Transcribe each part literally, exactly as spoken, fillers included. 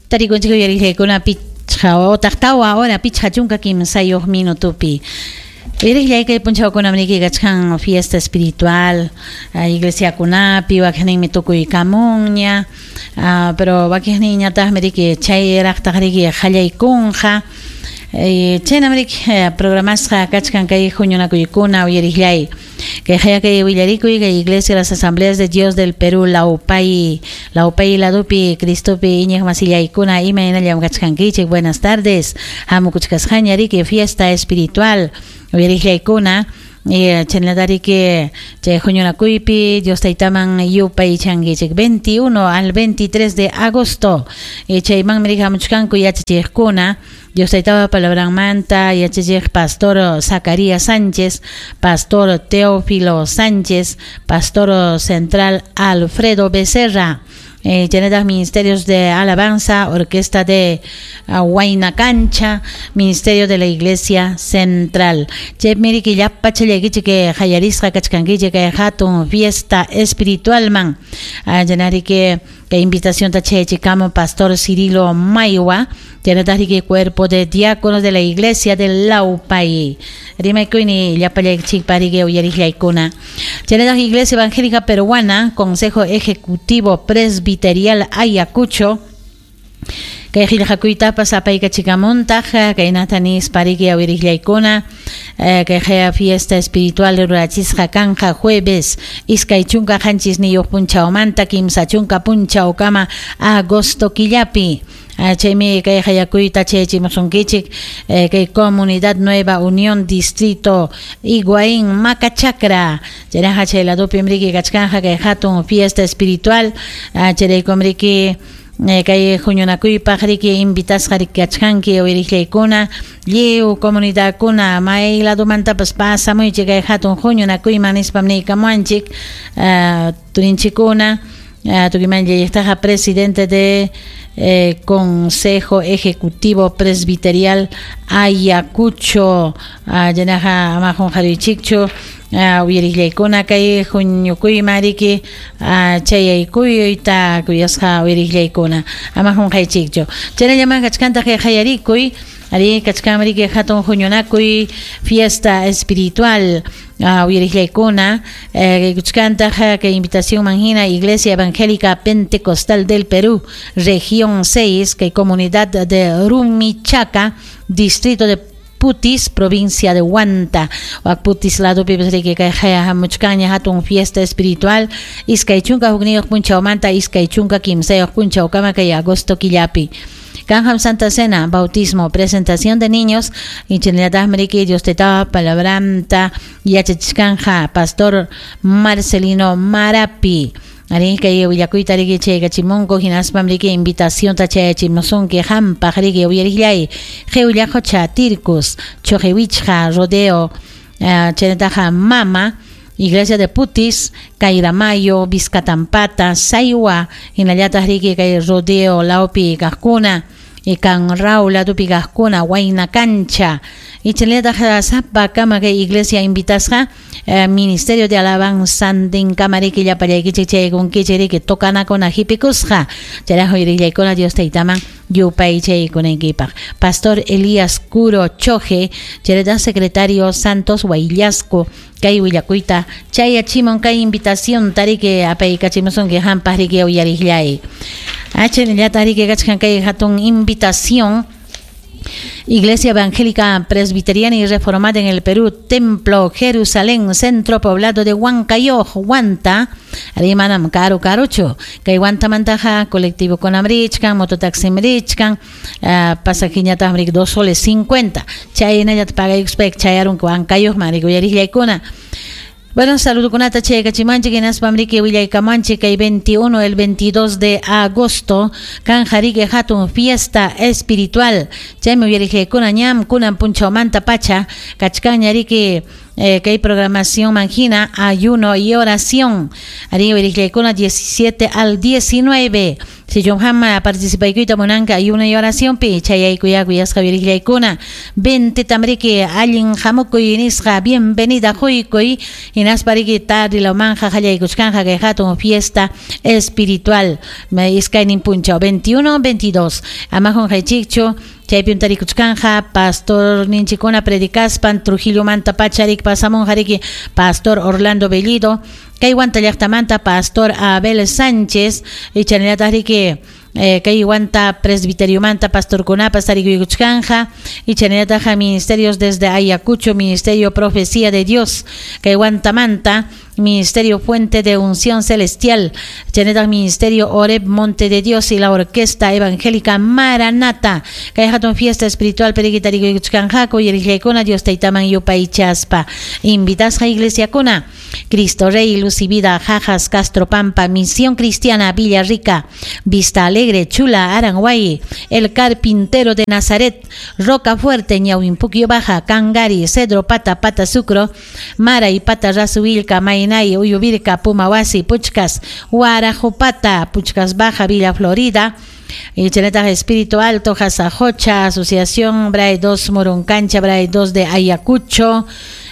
Tarikunchik uyariqllaykuna pichqa utaq tawa hora pichqa chunka kimsayuq minutupi. Uyariqllay kay punchawkunam riki kachkan fiesta espiritual, iglesiakunapi wakiqninmi tukuykamunña, pero wakiqninñataqmi riki chayraqtaq riki qallaykunqa. Chaynam riki programasqa kachkan kay huñunakuykuna uyariqllay. Kay kay willarikuy kay Iglesia de las Asambleas de Dios del Perú Laupay, Laupay ladupi Cristopi iñiq masillaykuna imaynallam kachkankichik. Buenas tardes. Hamukuchkasqaña riki fiesta espiritual uyariqllaykuna. Chaynatariki chay huñunakuypi Dios taytaman yupaychankichik veintiuno al veintitrés de agosto. Chaymanmi riki hamuchkanku yachachiqkuna Dios taytapa palabranmanta yachachiq Pastor Zacarías Sánchez, Pastor Teófilo Sánchez, Pastor Central Alfredo Becerra. Eh, chaynataq Ministerios de Alabanza, Orquesta de uh, Huayna Cancha, Ministerio de la Iglesia Central. Chaymi riki llapa challaykichik que qallarisqa kachkankichik kay hatun fiesta espiritualman. Chaynariki kay invitación ta chayachikamun Pastor Cirilo Maywa, chaynataq riki cuerpo de diáconos de la Iglesia de Laupay. Rimaykuyni llapallaykichikpa riki uyariqllaykuna. Chaynataq Iglesia Evangélica Peruana, Consejo Ejecutivo Presbiterial Ayacucho, kay qillqakuytapas apaykachikamuntaq kaynata nispa riki uyariqllaykuna. Kay qaya fiesta espiritual rurachisqa kanja jueves iskay chunka qanchisniyuq punchawmanta kimsa chunka punchawkama agosto killapi. Chaymi kay qayakuyta chayachimusunkichik kay Comunidad Nueva Unión Distrito Higuaín Macachacra. Chayraqa chay ladupi riki kachkanja kay hatun fiesta espiritual. Chayraykum riki kay huñunakuypaq riki invitasqa riki kachkanki uyariqllaykuna lliw comunidadkuna may ladumantapas pasamuychik kay hatun huñunakuyman nispam niykamuanchik turinchikuna. Tukiman llayaqtaqa presidente de eh, Consejo Ejecutivo Presbiterial Ayacucho, chaynaqa ama qunqaruychikchu uyariqllaykuna kay huñukuyman riki chayaykuyta kuyasqa uyariqllaykuna ama qunqaychikchu. Chaynallaman kachkantaq kay qallarikuy ari kachkan riki hatun huñunakuy fiesta espiritual uyariqllaykuna kuchkantaq kay invitación manhina Iglesia Evangélica Pentecostal del Perú Región seis kay comunidad de Rumichaca, distrito de Putis, provincia de Huanta. Wak Putis ladupi riki kay hamuchkanña hatun fiesta espiritual iskay chunka hukniyuq punchawmanta iskay chunka kimsayuq punchawkama kay agosto killapi. Kanjam Santa Cena, bautismo, presentación de niños, y chaynallataqmi riki Dios taytapa palabranta yachachishkanja Pastor Marcelino Marapi. Ari kay willakuyta riki chaykachimunku hinaspam riki invitación ta chayachimusunki hampaq riki uyariqllay Qhiwllaqocha, Tircus, Chojewichqa, Rodeo, chaynataqa Mama, Iglesia de Putis, Cairamayo, Vizcatampata, Saywa, hinallataq riki kay Rodeo lawpi kaqkuna, Ikanraw ladupi kaqkuna, Huayna Cancha. Y chaynallataq sapakama kay iglesia invitasqa Ministerio de Alabanza ndinkama riki llapallaykichik chaykunkichik riki tokanakuna hipikusqa. Chayraq uyariqllaykuna Dios taytaman yupaychaykunaykipaq. Pastor Elías Curo Choje, chaynallataq secretario Santos Huayllasco, kay willakuyta chayachimun kay invitación tariki apaykachimusunki hampaq riki uyariqllay. Chaynallataq riki kachkan kay hatun invitación Iglesia Evangélica Presbiteriana y Reformada en el Perú, Templo Jerusalén, Centro Poblado de Huancayo, Huanta, Arimanam Karu Karucho, kay Huantamantaja, colectivo con Amrichkan, mototaxi Mrichkan, pasajiñataq mrik dos soles cincuenta, chaynallat pagaykuspayki chayarunki Huancayo, marik uyariqllaykuna. Bueno, saludukunata chaykachimanchik hinaspam riki willaykamanchik kay veintiuno el veintidós de agosto kanja riki hatun fiesta espiritual. Chaymi uyariqllaykuna ñam kunan punchawmanta pacha kachkanña riki eh, kay programación manhina ayuno y oración. Ari uyariqllaykuna diecisiete al diecinueve. Sichum hama participaykuyta munanka ayuno y oración pi chayaykuya kuyasqa uyariqllaykuna veinte tamriki allin hamukuy nisqa bienvenida huykuy hinaspa riki tardi lawmanja qallaykuchkanja kay hatun fiesta espiritual iskaynin punchaw veintiuno veintidós ama qunqaychikchu chaypi tarikuchkanja pastor ninchikuna predicaspan Trujillo manta pacharik pasamunqa riki pastor Orlando Bellido kay Huanta llaqtamanta pastor Abel Sánchez ichanallataq riki eh, kay Huanta presbiteriomanta pastorkunapas tarikuykuchkanja ichanallataq ministerios desde Ayacucho Ministerio Profecía de Dios kay Huantamanta Ministerio Fuente de Unción Celestial, chaynataq Ministerio Oreb Monte de Dios y la Orquesta Evangélica Maranata. Kay hatun fiesta espiritual periquitarikuykuchkanjaku uyariqllaykuna Dios taytaman yupaychaspa. Invitasqa iglesiakuna Cristo Rey, Luz y Vida, Jajas, Castro Pampa, Misión Cristiana, Villa Rica, Vista Alegre, Chula, Aranguay, El Carpintero de Nazaret, Roca Fuerte, Ñauimpuquio Baja, Cangari, Cedro Pata, Pata Sucro, Mara y Pata Rasuvilca, Mainay, Uyuvirca, Pumahuasi, Puchcas, Guarajopata, Puchcas Baja, Villa Florida, y Cheneta Espíritu Alto, Jasajocha, Asociación Bray dos Moruncancha, Bray dos de Ayacucho,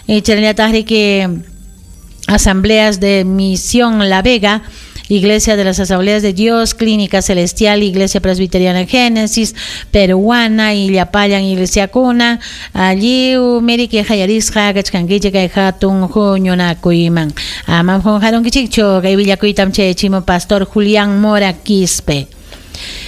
y Cheneta Rique, Asambleas de Misión La Vega, Iglesia de las Asambleas de Dios, Clínica Celestial, Iglesia Presbiteriana Génesis, Peruana, Illapayan, Iglesia Cuna, allí Meriki Hayarisja, Kachkankiche, kay hatun huñunakuyman. Amam qunqarunkichikchu, kay willakuytam chayachimo Pastor Julián Mora Quispe.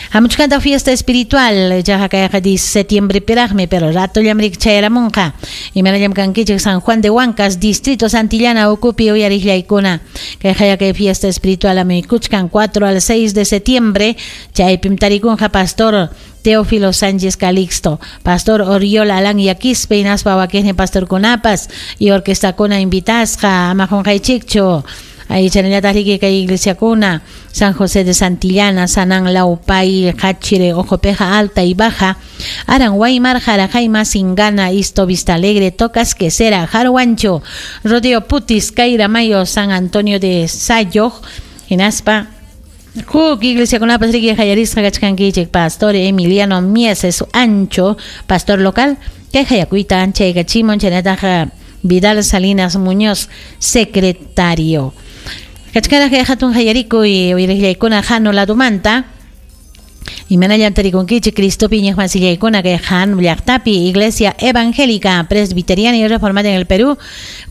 Hamuchkanta fiesta espiritual, ya kayqa septiembre piraqmi, pero rato llamrik chayaramunqa. Imanallam kankichik San Juan de Huancas, Distrito Santillana, Ucupi, uyariqllaykuna. Kay haya kay fiesta espiritual amikuchkan cuatro al seis de septiembre, chaypim tarikunqa Pastor Teófilo Sánchez Calixto, Pastor Oriol Alan Yaquispe, hinaspa wakiqnin Pastor Kunapas, y Orquesta Kuna invitasqa, ama qunqaychikchu. Ahí chanallataq riki kay iglesia kuna, San José de Santillana, Sanán Laupay, Hachire, Ojopeja Alta y Baja, Aranguaymar, Jarajaima, Singana, Isto, Vista Alegre, Tocas, Quesera, Jaruancho, Rodeo Putis, Caira Mayo, San Antonio de Sayoj, hinaspa, Huk iglesia kunapas riki hayarisqa kachkankichik Pastor Emiliano Mieses Ancho, pastor local, kay hayakuyta anchaykachimon chaynataqa Vidal Salinas Muñoz, secretario. Kachkara kay hatun hayarikuy uyariqllaykuna hanu ladumanta. Imanallam tarikunkichik Cristo Piña masillaykuna kay han llaqtapi Iglesia Evangélica Presbiteriana y Reformada en el Perú.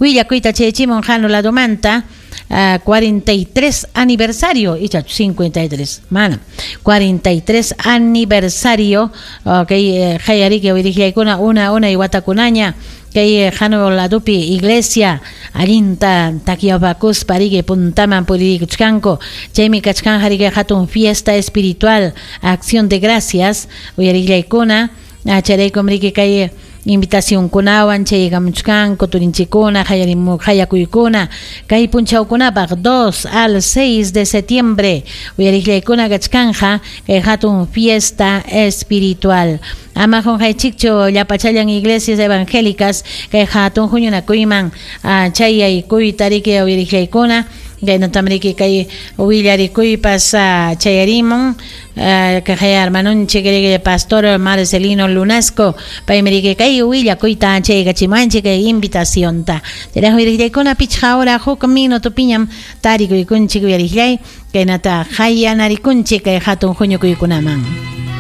Willakuyta chayachimon hanu ladumanta. Uh, cuarenta y tres aniversario, y cincuenta y tres, mano, cuarenta y tres aniversario, ok, eh, hayariki uyariqllaykuna una una y watakunaña, kay hanu ladupi iglesia allinta takiapakuspa riki puntaman purikuchkanku, chaymi kachkan riki hatun fiesta espiritual, acción de gracias, uyariqllaykuna, chayraykum riki kay invitación kunawan chaygamuchkanku turinchikuna hayarimu hayakuykuna kay punchawkunapaq dos al seis de septiembre uyariqllaykuna kachkanja kay hatun fiesta espiritual. Ama qunqaychikchu llapachallan iglesias evangélicas kay hatun huñunakuyman chayaykuyta riki uyariqllaykuna kaynatam riki kay willarikuypas chayarimun kay hermanunchik riki Pastor Marcelino Lunasco paymi riki kay willakuyta chaykachimanchik kay invitacionta. Chayraq uyariqllaykuna pichqa hora huk minuto piñam tarikuykunchik uyariqllay kaynata hayanarikunchik kay hatun huñukuykunaman.